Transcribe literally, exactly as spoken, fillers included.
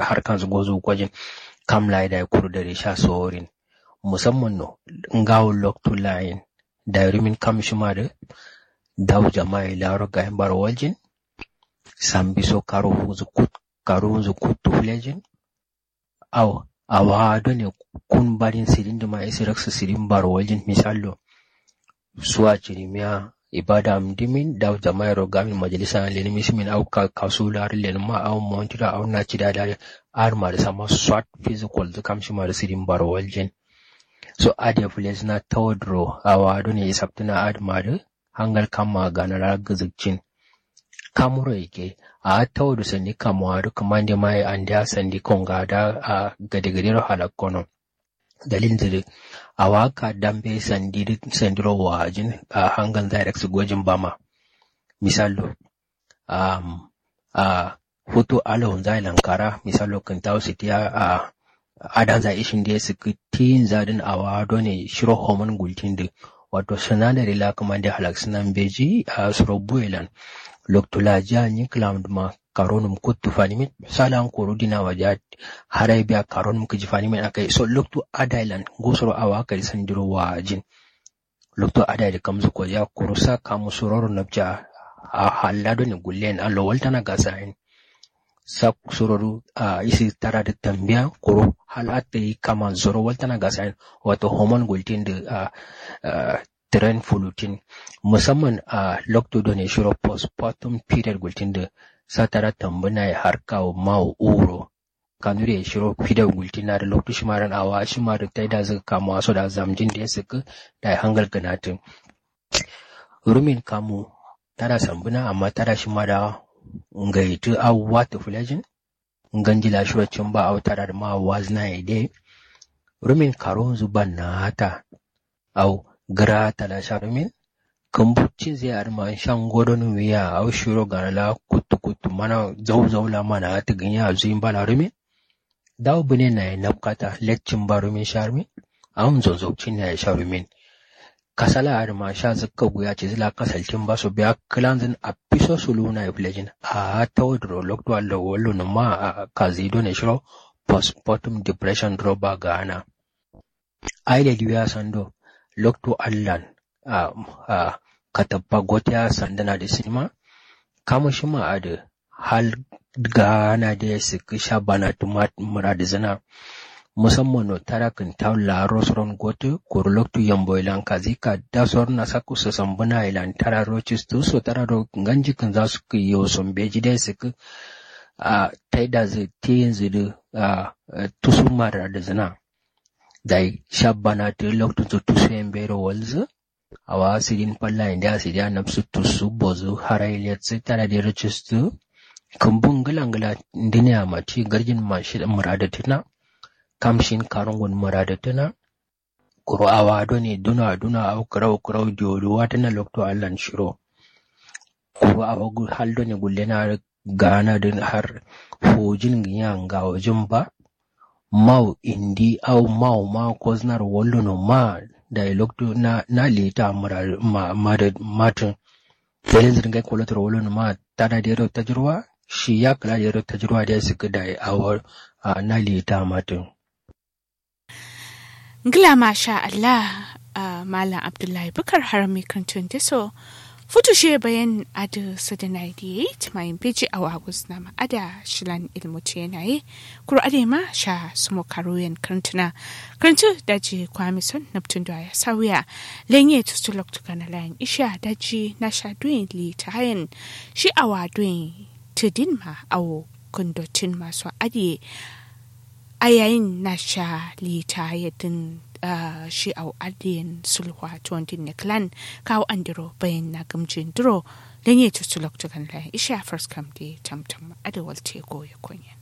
harkanzǝ gozu gojin. Kam layi dayi kuru dare sha sorin musamman no ngawo loktu layin dayi rumin kam shima dǝ dawu jama'a ye laro gayin baro waljin. Sambi so karu hunzu kut karu hunzu kuttu fulejin. Au awa done kun badin sidin dǝma isi raksu sidin baro waljin misallo suwa cirimiya ibada am dimin dawu jama'a yero gamin majalisa na lenim isimin au kasu laro lenim ma au montira au na cida dare. Adǝ ma dǝ samma swat fizu kolzǝ kam shima dǝ sidin baro waljin. So adǝ ye fulezǝna tawo duro awa done isaptǝna adǝ ma dǝ hangal kamma ganara gǝzǝkcin. Kamuro yike a'a tawodu sandi kamuwa dǝ kǝmande maye andeya sandi konga da a gade gadero halakkono. Dalil dǝ dǝ awa ka dambe sandi dǝ sandiro wajin a hangal nza direct gojin bama. Misallo am a futu alawunza ye lankara misallo kǝntawu sitiya a adanza ishin de sǝkkǝ tiyinza dǝn awa done shiro homun gultin dǝ wato sinadari la kǝmande halaksǝna mbeji a suro buwe lan. Loktu la jiya nyi kǝlam dǝma karonum kuttu fanimin salan koro dina waja. Harai biya karonum kǝji fanimin akai so loktu adai lan ngosoro awa kadi sandiro wajin. Loktu adai dǝ kamzǝ kojiya kuru sa kamu suroro napja a halla done gullen allo waltana gasayin. Sa suro dǝ a isi tara dǝ tambiya kuru hal atta yi kaman suro waltana gasayin. Wato hormone gultin dǝ a tren fulutin musamman a loktu done shiro postpartum period gultin dǝ sa tara tambuna ye har kawo mawo uro. Kanuri ye shiro fidau gultin na dǝ loktu shima dǝn awa shima dǝ taida zǝ kamuwa so da zamjin de sǝkkǝ. Dayi hangal gǝnatǝ rumin kamu tada sambǝna amma tada shima da ngaitǝ au watǝ fulejin. Nganji la shiro cimba au tada dǝma wazǝna ye de rumin karonzǝ bannata. Au gǝrata la sha rumin kǝmbu cinzǝ ye adǝma sha ngodonu wiya au shiro gana la kuttu kuttu mana zau zau la mana atǝ gǝnya zuyin bala rumin. Dawu bǝne naye napkata leccin ba rumin sha rumin. Au nzonzokcin naye sha rumin. Kasala adǝma sha zǝkka guya cizǝ la kasalcin ba so biya kǝlanzǝn affiso suluwu naye fulejin. A'a tawo duro loktu allo wallo nǝma a kazi done shiro postpartum depression duro ba gana. Aile diwiya sando loktu allan a a katappa gotiya sandana dǝ sinima. Kamu shima adǝ hal gana de sǝkkǝ sha banatǝ muradǝzǝna. Musamman no tara kǝntawu laro suron gotǝ kuru loktu yambo ye lan kazi ka da sorona sakku sasambǝna ye lan tara ro cistǝ so tara ro nganji kǝnza sǝkkǝ yo so mbeji de sǝkkǝ. A taidazǝ tiyinzǝ dǝ a tusu muradǝzǝna. Dai sha banatǝ loktunzǝ tusu ye mbero walzǝ. Awa sidin falla ye ndeya sidiya nabsu tusu bozu harai letsǝ tada dero cistǝ. Kǝmbu ngǝla ngǝla ndǝne amma ti garjin ma shi muradǝtǝna. Kam shin karungun muradǝtǝna. Kuru awa done duna duna au kǝrau kǝrau diyo dǝ watǝna loktu allan shiro. Kuru awa hal done gullena gana dǝn har fujin gǝnya ngawojin ba. Mau indi au mau ma koznar wallono ma. Dayi loktu na na lita mura ma ma da matun. Dalil zǝr ngai kolotor wallono ma tada dero tajirwa. Shi ya kala dero tajirwa dai sǝkkǝ dayi awo. Na lita matun. Ngla masha allah. Malam abdullahi bukar harami kǝntun diso. Futu shiye bayan adǝ sǝdǝnai diye tǝmayin beji awo agusnama ada shilan ilmu tiyenaye. Kuru adǝ ma sha sumo karuyen kǝntuna. Kǝntu daji kwami son nabtun duwa ya sauya. Lenye tustu loktu kana layin isha daji nasha duyin litayen. Shi awa duyin tǝdin ma awo kǝndotin maso adǝ ye. Ayayin nasha litaye dǝn. Shi au adǝ yen sulwa tondin ne klan kawo andiro bayin na gǝmjin duro. Lenye tustu loktu kana layin isha farskam de tamtam adǝ walte goye konyen.